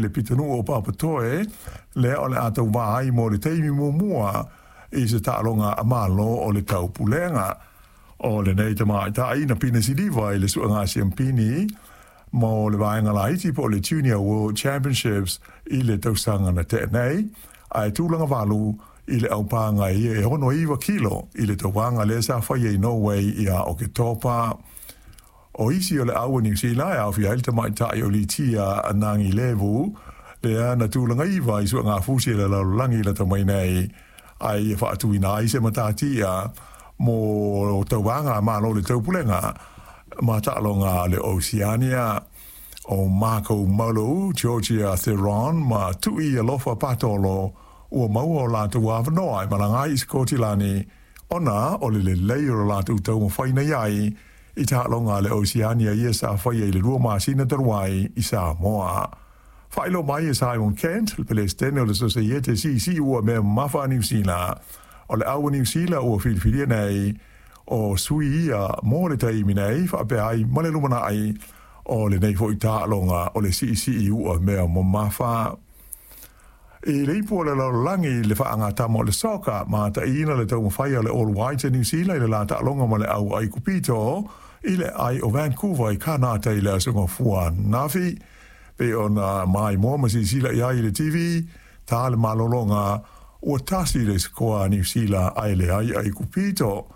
Le pitonuu o Papatoe, lea o le a tauvā ai mo le taimi muamua i se taaloga a Malo o le Taupulega. O lenei tamaitai na pine siliva i le suega siampini mo le vaega laiti po o le Junior World Championships i le tausaga na tea nei, ae tulaga valu i le aupaga ia e 69 kilo i le tauvaga lea sa faia i Norway ia Oketopa. O isi o le au a Niu Sila e aofia ai le tamaitai o Litia Nagilevu, lea na tulaga iva i suegafusi a le lalolagi lata mai nei, ae ia faatuina ai se matatia mo tauvaga a Malo o le Taupulega ma taaloga a le Oceania. O Marco Molo, Georgia Theron ma Tu'i Alofa Patolo ua maua o latou avanoa e malaga ai i Sikotilani ona o le lelei o le latou taumafai nei ai i taaloga a le Oceania ia sa faia i le 2 masina talu ai i Samoa. Faailoa mai e Simon Kent, le Pelesitene o le Sosaiete Siisii Ua Mea Mamafa a Niu Sila, o le au a Niu Sila ua filifilia nei o sui ia mo le taimi nei faapea ai ma le lumanai o lenei foi taaloga o le siisii ua mea mamafa. I le ipu o le lalolagi i le faagatama o le soka, mataina le taumafai a le All Whites a Niu Sila i le la taaloga ma le au Aikupito i le ai o Vancouver i Kanata i le aso Gafua ananafi. Pei ona maimoa ma silasila i ai i le TV, ta le malologa, ua tasi le sikoa a Niu Sila ae leai Aikupito.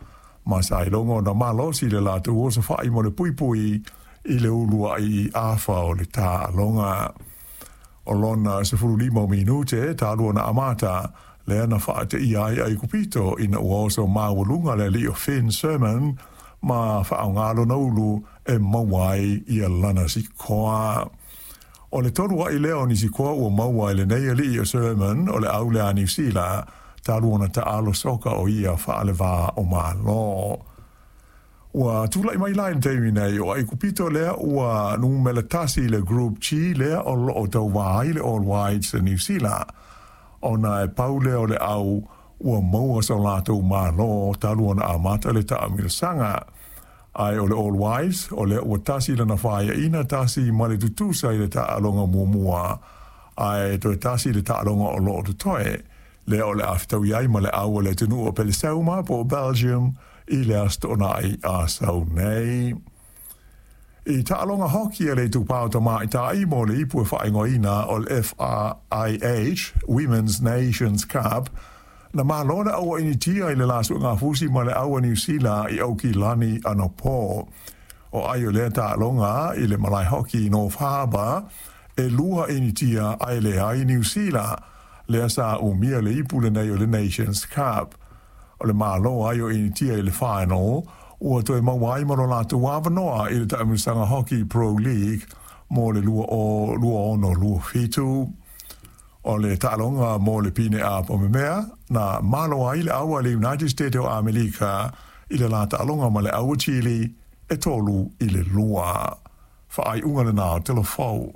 Ma sa iloga ona malosi le latou osofai mo le puipui i le uluai afa o le taaloga. O lona 15 o minute talu ona amata, lea na faateia ai Aikupito ina ua oso maualuga le alii o Finn Sherman ma faaaoga lona ulu e maua ai ia lana sikoa. O le tolu ai lea o ni sikoa ua maua e lenei alii o Sherman o le au lea a Niu Sila talu ona taalo soka o ia faalevā o Malo. Ua tulai mai la i le taimi nei o Aikupito lea ua numera tasi i le Group G lea o loo tauvā ai le All Whites a Niu Sila, ona e pau lea o le au ua maua so latou malo talu ona amata le taamilosaga. Ae o le All Whites o lea ua tasi lana faiaina tasi ma le tutusa i le taaloga muamua, ae toe tasi le taaloga o loo totoe lea o le a fetaui ai ma le au o le atunuu o Peleseuma po o Belgium i le Aso Toonai a sau nei. I taaloga hoki a le Itupa o Tamaitai mo le ipu e faaigoaina o le FIH Women's Nations Cup, na malo le au a Initia i le la suegafusi ma le au a Niu Sila i Aukilani anapo. O ai o lea taaloga i le malae hoki i North Harbour, e lua Initia ae leai Niu Sila, lea sa umia le ipu lenei o le Nations Cup. O le malo ai o Initia i le final, ua toe maua ai ma lo latou avanoa i le taamilosaga Hockey Pro League mo le 2026/27. O le taaloga mo le pine apamemea, na malo ai le au a le United States o Amerika i le la taaloga ma le au a Chile e 3-2. Faaiuga lena o Telefou.